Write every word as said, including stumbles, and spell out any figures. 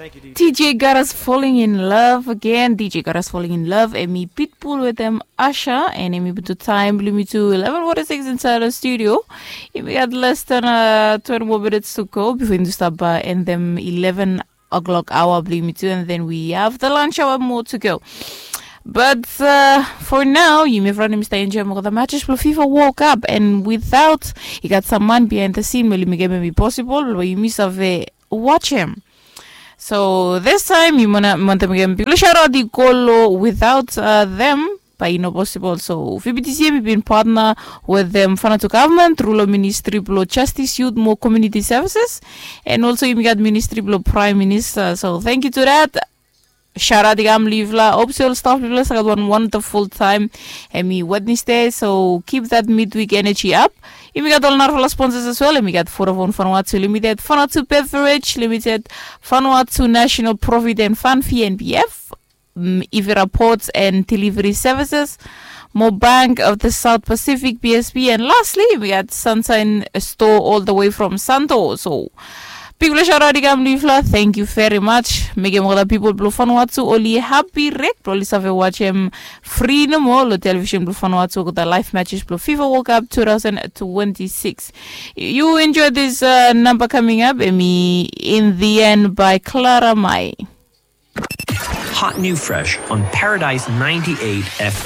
DJ Garas Falling in Love again. DJ Garas Falling in Love, emi Pitbull wetem Asha, and emi butu taim bilong mi tu eleven forty-six inside the studio. Emi gat less than uh, twenty more minutes to go before you stop uh, and them eleven o'clock hour bilong mi tu, and then we have the lunch hour more to go. But uh, for now, yumi front yumi stay enjoy mo the matches for FIFA World Cup, and without, you got some man behind the scene, meli mi game be possible, but yumi save watch him. So this time, you wanna want them again. People shout out the Golo without uh, them. By no possible. So V B T C M been partner with them Fanatu government, rural ministry below justice, youth, more community services, and also you got ministry below prime minister. So thank you to that. Shout out the gam livla. Hope so staff livla. So got one wonderful time. And me Wednesday. So keep that midweek energy up. Yumi gat ol narafala sponsors as well. Yumi gat Vodafone Vanuatu Limited, Vanuatu Beverage Limited, Vanuatu National Profit and Fund, V N P F, mm, Ivira Ports and Delivery Services, Mo Bank of the South Pacific, B S P, and lastly, we got Sunshine Store all the way from Santo. So, big pleasure, Radiga Mlifla. Thank you very much. Mekem all the people blow fun watu oli happy rek, oli save watch him free no more lo television blow fun watu the live matches blow FIFA World Cup two thousand twenty-six. You enjoy this uh, number coming up, Emi, in the end by Clara Mai. Hot new fresh on Paradise ninety-eight F M.